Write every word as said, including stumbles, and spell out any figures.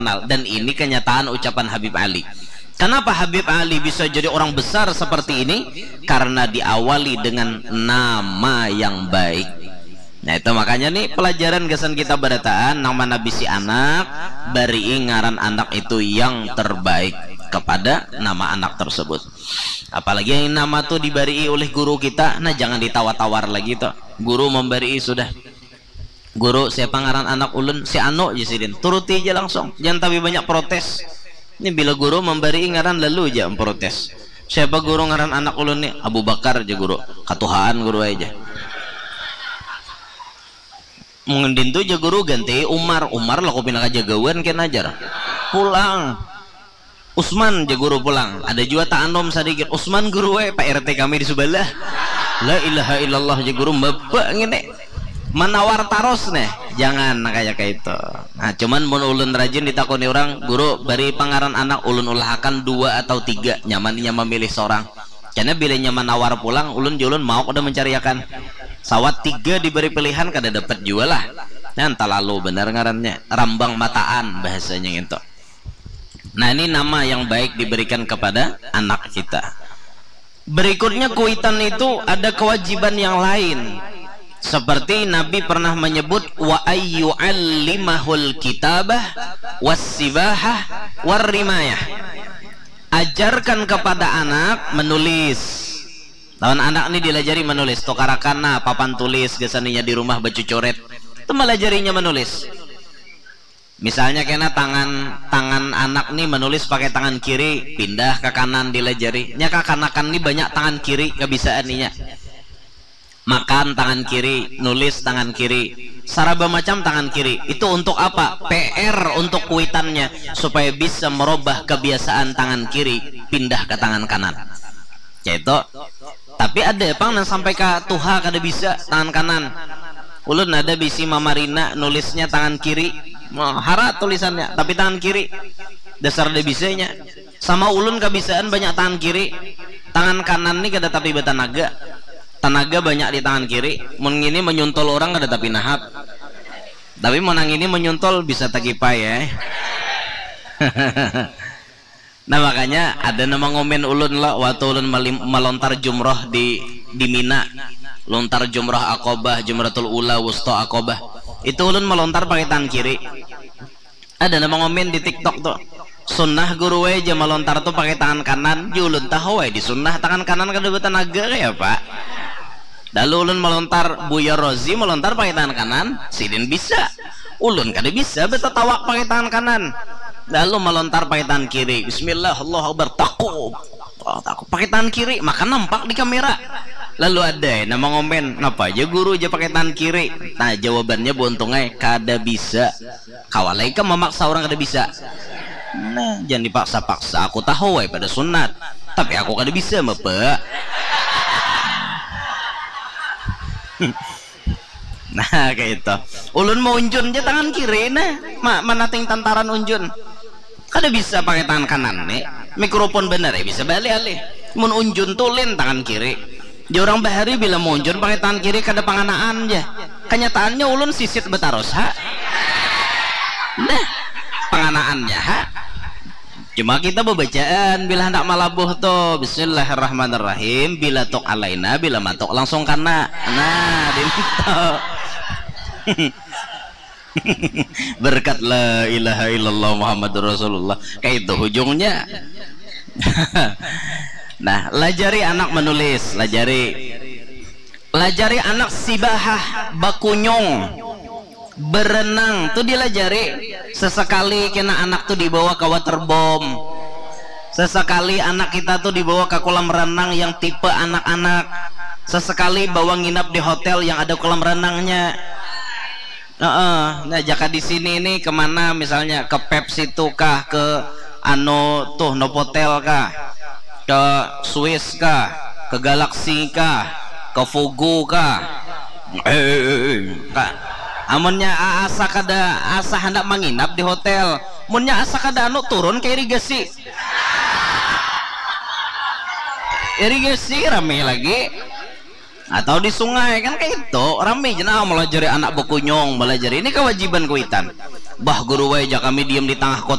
terkenal. Dan ini kenyataan ucapan Habib Ali. Kenapa Habib Ali bisa jadi orang besar seperti ini? Karena diawali dengan nama yang baik. Nah, itu makanya nih pelajaran gasan kita barataan, nang mana bisi anak, barii ngaran anak itu yang terbaik kepada nama anak tersebut. Apalagi yang nama tuh dibarii oleh guru kita, nah, jangan ditawar-tawar lagi tuh. Guru membarii sudah. Guru, siapa ngaran anak ulun? Si Anu, ja sidin. Turuti aja langsung. Jangan tapi banyak protes. Ini bila guru membarii ngaran lalu aja memprotes. Siapa guru ngaran anak ulun nih? Abu Bakar aja guru. Katuhaan guru aja. Mungkin dintu aja guru ganti Umar. Umar lah, kau pindah kajagawan kena ajar. Pulang. Usman, ja guru pulang. Ada jua taanum sadikit. Usman guru, eh, Pak R T kami di subalah. La ilaha illallah, ja guru, maba ngini. Manawar tarus nih. Jangan kaya kaitu. Nah, cuman mun ulun rajin ditakuni urang, "Guru, bari pangaran anak ulun ulahakan dua atau tiga, nyaman inya mamilih sorang." Karena bila inya manawar pulang, ulun ja ulun mauk dah mancariakan. Sawat tiga dibari pilihan, kada dapat jua lah. Nah, talalu banar ngarannya. Rambang mataan bahasanya ngintu. Nah, ini nama yang baik diberikan kepada anak kita. Berikutnya, kuitan itu ada kewajiban yang lain. Seperti Nabi pernah menyebut, "Wa ayyu'allimahul kitabah was sibahah war rimayah." Ajarkan kepada anak menulis. Lawan anak ni dilajari menulis, tukarakan nah papan tulis gasan inya di rumah bacucurit. Itu malajarinya menulis. Misalnya kena tangan, tangan anak nih menulis pakai tangan kiri, pindah ke kanan dilajari. Nya kakanakan nih banyak tangan kiri kebisaan inya. Makan tangan kiri, nulis tangan kiri, saraba macam tangan kiri. Itu untuk apa? P R untuk kuitannya, supaya bisa merubah kebiasaan tangan kiri pindah ke tangan kanan. Caitu. Tapi ada pang nang sampai ka tuha kada bisa tangan kanan. Ulun ada bisi mamarina nulisnya tangan kiri. Wah, harat tulisannya, tapi tangan kiri. Dasar ada bisanya. Sama ulun kabisaan banyak tangan kiri. Tangan kanan ni kada tapi batanaga. Tanaga banyak di tangan kiri. Mun ngini menyuntol orang kada tapi nahap. Tapi mun nang ini menyuntol bisa takipai, eh. Nah, makanya ada nama ngomen ulun lo, waktu ulun malim-, malontar jumroh di, di Mina. Lontar jumroh Aqabah, Jumratul Ula, Wusta, Aqabah. Itu ulun malontar pakai tangan kiri. Ada nama ngomen di TikTok tuh. Sunnah guru wae ja malontar tuh pakai tangan kanan. Ju ulun tahu wae di sunnah tangan kanan kada batanaga kaya apa. Lalu ulun malontar, Buya Rozi malontar pakai tangan kanan, sidin bisa. Ulun kada bisa batatawak pakai tangan kanan. Lalu malontar pakai tangan kiri. Bismillah, Allahu Akbar, takub. Oh, takub. Pakai tangan kiri, maka nampak di kamera. Lalu ada nama ngomen, napa aja guru aja pakai tangan kiri. Nah, jawabannya buntung ai, kada bisa. Kawa lai kam mamaksa urang kada bisa. Nah, jangan dipaksa-paksa. Aku tahu ai pada sunat, tapi aku kada bisa, Bapak. Nah, kaya itu. Ulun maunjun ja tangan kiri, nah. Ma-, manating tantaran unjun. Kada bisa pakai tangan kanan nih. Mikrofon banar ya bisa baalih-alih. Mun unjun tulin tangan kiri. Jar urang bahari bila munjun pakai tangan kiri kada panganaan ja. Kanyataannya ulun sisit batarus ha. Nah, panganaannya ha. Cuma kita babacaan bila handak malabuh tu, Bismillahirrahmanirrahim, bila tuk alaina, bila matuk langsung kana. Nah, dintu. Berkat la ilaha illallah Muhammadur Rasulullah. Kayak itu ujungnya. Nah, lajari anak menulis, lajari. Lajari anak sibahah, bakunyung, berenang tu dilajari. Sesekali kena anak tu dibawa ke waterboom. Sesekali anak kita tu dibawa ke kolam renang yang tipe anak-anak. Sesekali bawa nginap di hotel yang ada kolam renangnya. Heeh, nah, jaka di sini nih kemana, misalnya ke Pepsi tuh kah, ke anu tuh Novotel kah, ke Swiss kah, ke Galaxy kah, ke Fugu kah? Eh, eh, eh, eh, kah? Amunnya a-, asa kada, asa handak manginap di hotel, munnya asa kada anu turun ke irigasi. Irigasi rame lagi. Atau di sungai kan kayak itu, rame jenah melajari anak bekunyung, melajari ini kewajiban kuitan. Bah guru wai, ja kami diem di tangah kota.